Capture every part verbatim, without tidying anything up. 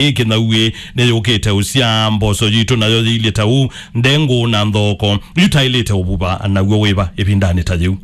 ĩ kĩnauĩ nĩyũkĩte ũsya mboso yitũ, nayo yĩilyĩ ta ũu, ndengũ na nthoko. Yu taĩlĩte ũvuva naw'o wĩva ĩvindanĩ ta yĩu?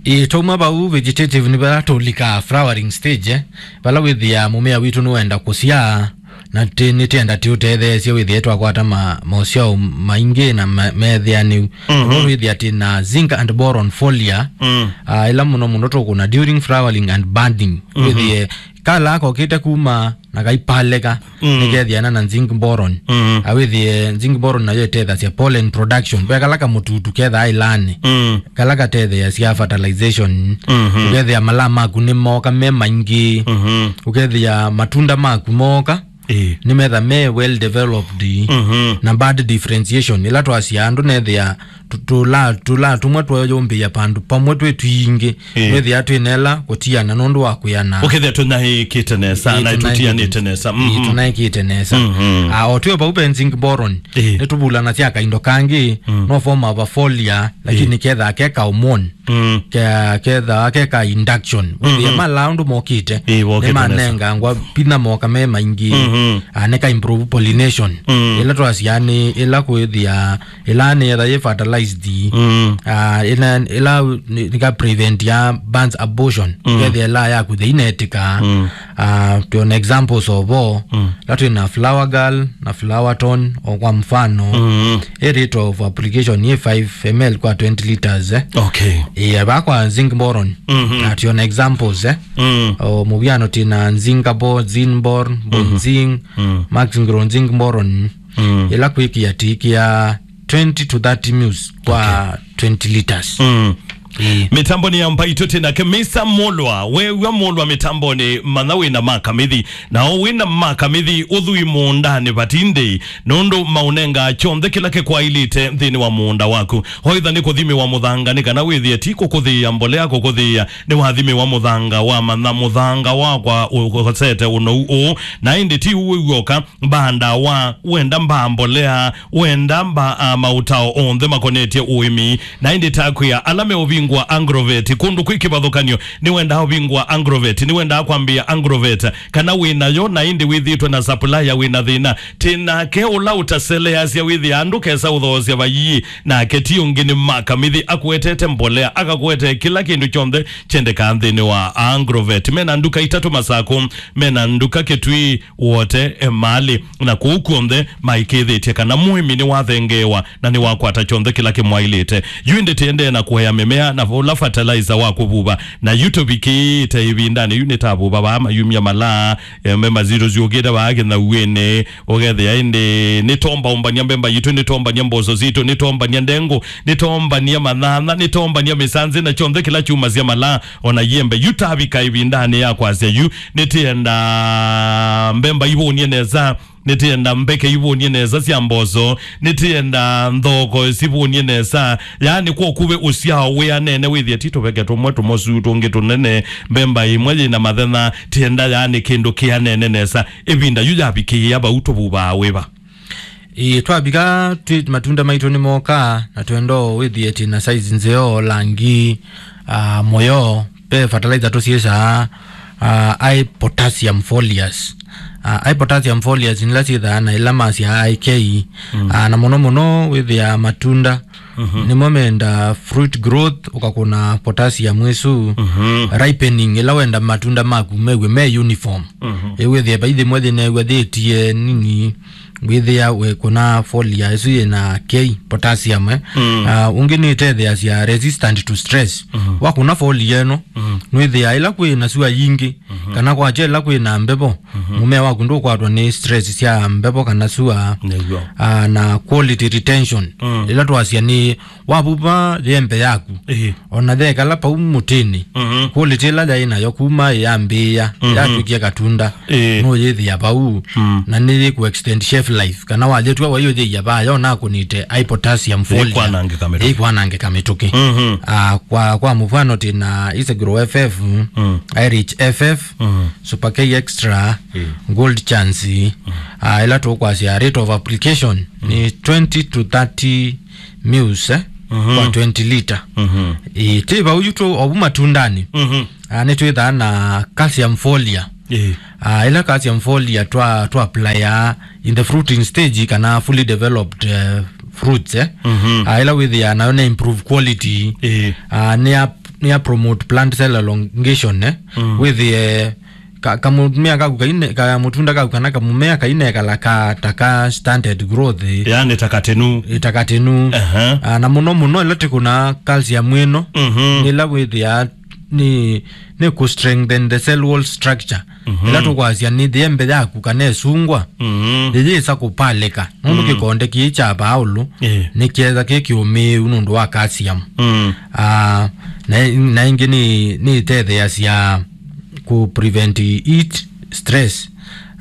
Ĩ, twauma vau vegetative nĩ vala tũlika flowering stage, eh, vala wĩthĩa mũmea witũ nĩwenda kũsyaa, na tĩ-, nĩtĩenda tĩũtetheesye wĩthĩe twakwata ma-, mosyao maingĩ na ma-, meethĩanĩu. Mhm. Nĩvo wĩthĩa tĩ na zinc and boron foliar, Mm. ah, ĩla mũno mũno tũkũna during flowering and budding. Mhm. Wĩthĩe kala kokĩte kuma na kaipaleka, Mm. nĩkethiana na zinc boron. Mm. Awĩthĩe zinc boron nayo ĩtethasya pollen production. Ve kala kamũtutu kethaa ĩlanĩ. Mm. Kala katetheasya fertilization. Mhm. Ũkethĩa malaa maku nĩ moka me maingĩ. Mhm. Ũkethĩa matunda maku moka. Ĩĩ. Nĩmetha me well developed. Mhm. Na bud differentiation. Ĩla twasya andũ nethĩa tũ-, tũla, tũla tũmwe twoyũmbĩĩa pandũ pamwe twĩ twingĩ. Ĩĩ. Wĩthĩa twĩnela kũtiana nũndũ wa kwĩana. Ũkethĩa tũnaĩkĩte nesa, Ĩĩ, na tũnaĩkĩte tũtianĩte nesa. Ĩĩ, Mhm. tũnaĩkĩte nesa. Mhm. Ah, o twĩ vau benzing boron. Ĩĩ. Nĩtũvulanasya kaindo kangĩ, Mm. no form of a foliar, lakini Ĩĩ. kethaa ke ka hormone. Mm. Ke-, kethaa ke ka induction. Wĩthĩa Mhm. mala ũndũ mokĩte, Ĩĩ, wokĩte nesa. Nĩmanengangwa vinya moka me maingĩ. Mhm. Ah, nĩ ka improve pollination. Mm. Ĩla twasya nĩ ĩla kwĩthĩa ĩla nĩyetha yĩ fertilized. Mm. Ah, ĩla, ĩla nĩ, nĩ ka prevent ya buds abortion. Mm. Kethĩa ĩla yaku thĩinetĩka. Mm. Ah, twĩona examples of all. Mm. La twĩ na flower girl na flower tone, o kwa mfano. Mm. Ĩ rate of application yĩ five M L kwa twenty liters, eh. Okay. Ĩ, ava kwa zinc boron. Mhm. Na twĩona examples, eh. Mm. O mũvyano twĩ na zincabor, zinbor, Mhm. bonzinc, Mm. maxingro zinc boron. Mm. Ĩla kwĩkĩa tikĩa twenty to thirty mils kwa Okay. twenty liters. Mm. Ĩĩ. Mĩtambonĩ ya Mbaitũ twĩ nake Mister Mulwa. Wew'a Mulwa mĩtambonĩ, manya wĩna makamithi. Na o wĩna makamithi, ũthui mũũndanĩ vatindĩ, nũndũ maũnengaa kyonthe kĩla kĩkwaĩlĩte nthĩnĩ wa mũũnda waku. Oitha nĩ kũthimĩwa mũthanga, nĩ kana wĩthĩe ti kũkũthĩĩa mbolea, kũkũthĩĩa nĩwathimĩwa mũthanga, wamanya mũthanga wakwa ũkosete ũnou ũũ, na ĩndĩ ti ũu wĩw'oka, mbaa ndawa, wenda mbaa mbolea, wenda mbaa, ah, maũtao onthe makonetye ũĩmi. Na ĩndĩ takwĩa ala meũvingũa Agrovet, kũndũ kwĩ kĩvathũkany'o, nĩwendaa ũvingũa Agrovet, nĩwendaa kwambĩĩa Agrovet, kana wĩ nayo na ĩndĩ wĩthĩĩtwe na supplier wĩ na thĩna, tĩ nake ũla ũtaseleasya wĩthĩa andũ kesa ũthoosya vayii, nake ti ũngĩ nĩ makamithi, akũetete mbolea, akakũetee kĩla kĩndũ kyonthe kyendekaa nthĩnĩ wa Agrovet. Mena nduka itatũ Masakũ, mena nduka Kĩtui, Wote, Emali, na kũu kw'onthe maĩkĩĩthĩtye kana mũĩmi nĩwathengeewa na nĩwakwata kyonthe kĩla kĩmwaĩlĩte. Yu ĩndĩ tĩendee na kũea mĩmea na ũla fertilizer wa kũvuva, na yu tũvikĩĩte ĩvindanĩ. Yu nĩtavuva vaa mayumya mala, e, mbemba sitũ syũkĩte vaa kĩnauĩnĩ, ũkethĩa ĩndĩ nĩtombaũmbany'a mbemba yitũ, nĩtombany'a mboso sitũ, nĩtombany'a ndengũ, nĩtombany'a manyanya, nĩtombany'a mĩsanzĩ na kyonthe kĩla kyumasya mala, ona yĩembe. Yu tavika ĩvindanĩ ya kwasya yu, nĩtĩenda mbemba ivũnie nesa, nĩtĩenda mbeke ivũnie nesa sya mboso, nĩtĩenda nthoko sivũnie nesa. Yaani, kw'o kũve ũsyao wĩanene, wĩthĩe ti tũveke tũmwe tũmosu, tũngĩ tũnene, mbemba ĩmwe yĩna mathenya, tĩenda, yaani, kĩndũ kĩanene nesa. Ĩvinda yu yavikĩĩa vau, tũvuvaa wĩva? Ĩĩ, twavika twĩ matunda maitũ nĩmoka, na twenda o wĩthĩe twĩ na size nzeo, langi, ah, mũyo. Ve fertilizer tũsyĩsaa, ah, high potassium foliars. Ah, high potassium foliars nĩla syĩthaa na ĩla masya I K. Mm. Ah, na mũno mũno wĩthĩa matunda, Mhm. nĩmo menda fruit growth, ũkakũna potassium ĩsu, Mhm. ripening, ĩla wenda matunda maku mew'e me uniform. Mhm. Ĩwĩthĩe vai thĩmwe thĩnew'a thĩtie nini, wĩthĩa wĩkũna foliar ĩsu yĩna K, potassium, eh. Mm. Ah, ũngĩ nĩtetheasya resistant to stress. Mhm. Wakũna foliar ĩno, Mhm. nwĩthĩa ĩla kwĩ na sua yingĩ, Mhm. kana kwakya ĩla kwĩ na mbevo, Mhm. mũmea waku ndũkwatwa nĩ stress sya mbevo kana sua, Nĩw'o. ah, na quality retention. Mm. Ĩla twasya nĩ wavuva yembe yaku, Ĩĩ. ona yekala pau mũtĩnĩ, Mhm. quality ĩla yaĩ nayo kuma yambĩĩa, Mhm. yatw'ĩkie katunda, Ĩĩ. nũyĩthĩa vau. Mm. Na nĩyĩkũ extend shelf life, kana walyĩtw'a waiyũthĩia vaa yona kũnĩte high potassium foliar. Ĩkwanangĩka mĩtũkĩ. Ĩkwanangĩka mĩtũkĩ. Mhm. Ah, kwa, kwa mũvwano, tĩ na Isegro F F, Mm. Irish F F, Mm. Super K Extra, Mm. Gold Chance, Mm. ah, ĩla tũkwasya rate of application Mm. nĩ twenty to thirty mils, eh, Mhm. kwa twenty lita. Mhm. Ĩĩ, tĩ vau yu tũ ovu matundanĩ. Mhm. Ah, nĩtwĩthaa na calcium foliar. Ĩĩ. Ah, ĩla calcium foliar twa, twa apply in the fruiting stage kana fully developed, eh, fruits, eh. Mhm. Ah, ĩla wĩthĩa nayo nĩ improve quality. Ĩĩ. Ah, nĩ ya, nĩ ya promote plant cell elongation, eh. Mm. Wĩthĩe ka, kamũmea kaku kaine, kamũtunda kaku kana kamũmea kainekala ka, ta ka stunted growth, eh. Yani ta katenu. Ĩ ta katenu. Aha. Ah, na mũno mũno ĩla tĩkũna calcium ĩno, mhm, nĩ ĩla wĩthĩa nĩ, nĩ kũ strengthen the cell wall structure. Mhm. Ĩla tũkwasya nĩ thĩembe yaku kana ĩsungwa, mhm, yĩyĩsa kũpalĩka. Nũndũ, mm, kĩkonde kĩĩ kya vaa ũlũ, eh, nĩ kĩetha kĩ kĩũmĩĩu nũndũ wa calcium. Mm. Ah, na, na ĩngĩ nĩ, nĩ ĩtetheeasya kũ prevent heat stress.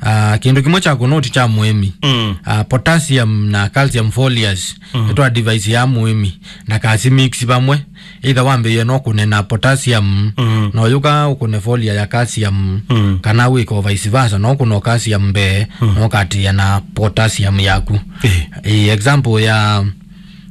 Ah, kĩndũ kĩmwe kya kũnoti kya mũĩmi. Mm. Ah, potassium na calcium foliars, mm, nĩ twa device ya mũĩmi na kasi mix vamwe. Either wambĩĩe no kũne na potassium, mm, no yũka ũkũne foliar ya calcium, mm, kana wĩko vice versa, no kũno calcium mbee, mm, no katĩĩa na potassium yaku. Eh. Eh, example ya,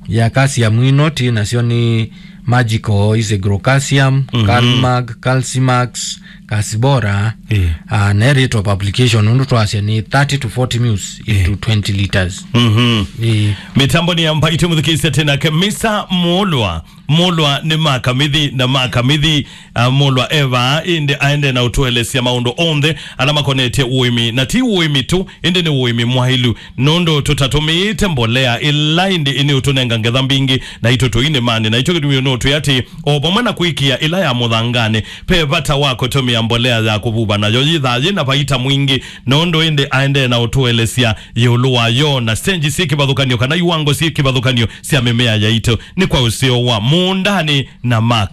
ya calcium ino tĩ nasyo nĩ Magical, Isigro Calcium, mhm, Calmag, Calcimax, Calcibora, eh, ah, na rate of application, nũndũ twasya nĩ thirty to forty mils into, eh, twenty liters. Mhm. Eh. Mĩtambo nĩ ya Mbaitũ mũthikĩĩsya tena ke Misa Mũlwa. Mũlwa nĩ makamithi na makamithi, ah, Mũlwa e vaa, ĩndĩ aende na ũtũelesya maũndũ onthe ala makonetye ũĩmi, na ti ũĩmi tu, ĩndĩ nĩ ũĩmi mwaĩlu, nũndũ tũtatũmĩĩte mbolea ĩla ĩndĩ ĩnĩ ũtũnenga ngetha mbingĩ, na itũ tũinĩmanĩ. Na ĩkyo kĩtumi ũnũtwĩa atĩ, o vamwe na kũĩkĩĩa ĩla ya mũthanganĩ, ve vata wa kũtũmĩa mbolea ya kũvuva nayo yĩthaa yĩ na vaita mwingĩ, nũndũ ĩndĩ aendee na ũtũelesya ĩũlũ wayo na stage syĩ kĩvathũkany'o kana iwango syĩ kĩvathũkany'o sya mĩmea yaitũ. Nĩ kwa ũseo wa mũũndanĩ na maka.